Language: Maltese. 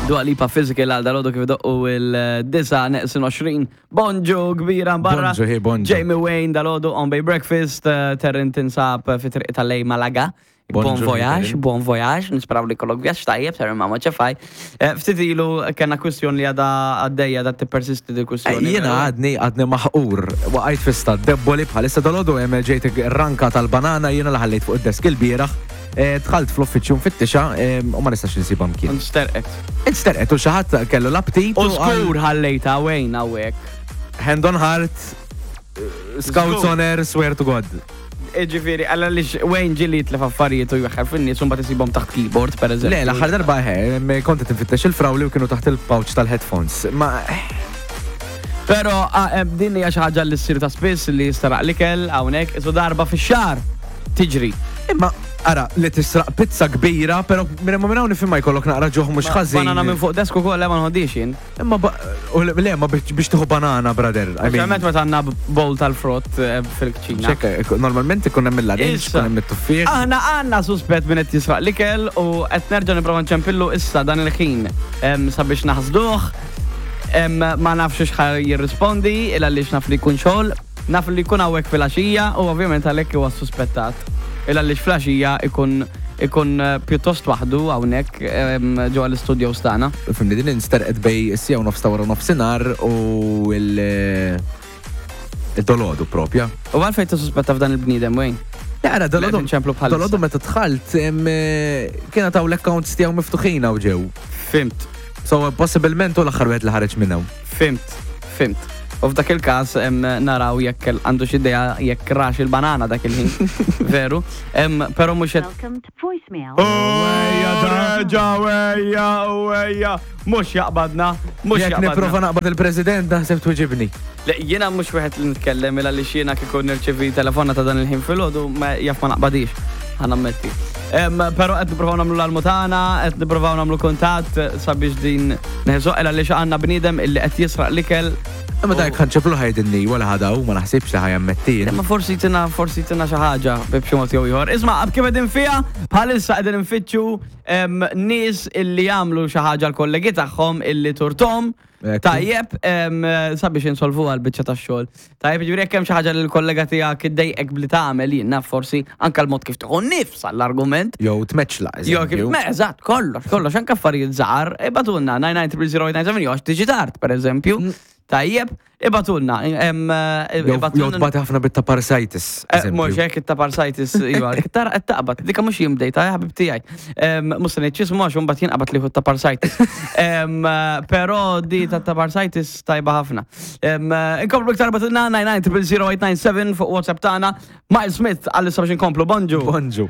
Dua Lipa Physical għal dalodu kif doqqu il-disa neqsin 20. Bonġu kbira barra. Bonġu, hi, bonġu. Jamie Wayne dalodu on Bay Breakfast, eh, Terrin tinsab fi triq tal-lej Malaga. Bon Bonġu, hi, voyage, Terrin. bon voyage, nisperaw li kollok vjaġġ tajjeb, Terrin ma ċefaj. Eh, Ftit ilu kena kwistjoni li għada għaddejja da tippersisti di kwistjoni. Eh, Jiena għadni għadni maħqur, waqajt fi stat debboli bħalissa dalodu hemm ġejt ranka tal-banana jiena li ħallejt fuq id-desk il-bieraħ, eh, dħalt fl-uffiċċju nfittixa eh, u ma nistax insibha mkien. Nsterqet. Insterqet u xi ħadd kellu l-aptit U u qal, skur ħallejta Wayne hawnhekk. hand on heart, eh, scouts Żgur. honor, swear to God. Ġifieri, għalla li Wayne ġili jitlef affarijiet u jweħħel fin-nies u mbagħad isibhom taħt keyboard, per eżempju. Le, l-aħħar darba eh, kont qed infittex il-frawli u kienu taħt il-pouch tal-headphones. Ma Pero ah, eh, din hija xi ħaġa li ssir ta' spiss li jistaraq l-ikel hawnhekk isu darba fix-xahar tiġri. Imma, ara, li tisraq pizza kbira, pero minn ma minn hawn nifhimha jkollok naqra ġuħ mhux ħażin. Banana minn fuq desk ukoll le ma nħoddix jien. Imma ba- u le, le, ma biex biex tieħu banana, brother. I mean, Speċjalment meta għandna bowl tal-frott eh, fil-kċina. ċekka, eh, normalment ikun hemm il-larinġ, Issa. ikun hemm it-tuffieħ. Aħna għandna suspett minn qed jisraq l-ikel u qed nerġa' nipprova nċempillu issa dan il-ħin em, sabiex naħsduh. Em, Ma nafx x'ħa jirrispondi il għaliex naf li jkun xogħol, naf li jkun hawnhekk filgħaxija u ovvjament għalhekk huwa suspettat. Il għaliex filgħaxija ikun ikun eh, pjuttost waħdu hawnhekk em, ġewwa l-istudios tagħna. Fimni din insterqet bej is-sija u nofs ta' wara nofsinhar u il- il-dolodu propja. U għalfejn tissuspetta f'dan il-bniedem Wayne? Le, ara, dolodu. Li qed inċemplu bħalissa. Dolodu meta dħalt, em, eh, kien taw l-accounts tiegħu miftuħin hawn ġew. Fimt. So, possibilment u l-aħħar wieħed li ħareġ minn hawn. Fimt, fimt. U f'dak il-każ em, naraw jekk għandu xi idea jekk rax il-banana dak il-ħin. Veru. Em, Però mhux qed Welcome to voicemail. Ejja, reġa, ejja, ejja. Mhux jaqbadna, mhux Jekk jaqbadna. nipprova naqbad il-President, naħseb twiġibni. Le, jiena mhux wieħed li nitkellem il għaliex jiena kieku nirċevi telefona ta' dan il-ħin filgħodu ma jaf ma naqbadix. Ħa nammetti. Em, Però qed nippruvaw nagħmlu l-almu tagħna, qed nippruvaw nagħmlu kuntatt sabiex din neħżu il għaliex għandna bniedem illi qed jisraq l-ikel. Imma dak ħanċeplu ħajdinni wara ħadaw, ma naħsibx li ħajammettin. Imma forsi tina forsi tina xi ħaġa b'xi mod jew ieħor. Isma' kif qegħdin fiha, bħalissa qegħdin infittxu em, nies illi jagħmlu xi ħaġa l-kollegi tagħhom illi turtom. Ekku. Tajjeb, em, sabiex insolvu għal biċċa tax-xogħol. Tajjeb, ġifieri jekk hemm xi ħaġa li l-kollega tiegħek iddejqek bli tagħmel jien naf forsi anke l-mod kif tieħu nifs għall-argument. Jew tmeċla, Jo, kif, eżempju. me, eżatt, kollox, kollox, anke affarijiet żgħar, ibatulna 9930897 jew għax tiġi tard, pereżempju. Tajjeb, ibatulna. em, eh, Jew jew ibatulna- tbati ħafna bit-taparsitis. Eh, eżempju. Mux hekk it-taparsitis, iva, tara qed taqbad, dika mhux jien bdejta, ħabib tiegħi. Mhux se ngħid x'ismu għax imbagħad jinqabad liħu t-taparsitis. Em, eh, Però di ta' taparsitis tajba ħafna. Em, eh, Inkomplu iktar batilna 99 fuq WhatsApp tagħna. Miles Smith għal-issa biex inkomplu, bonġu. Bonġu.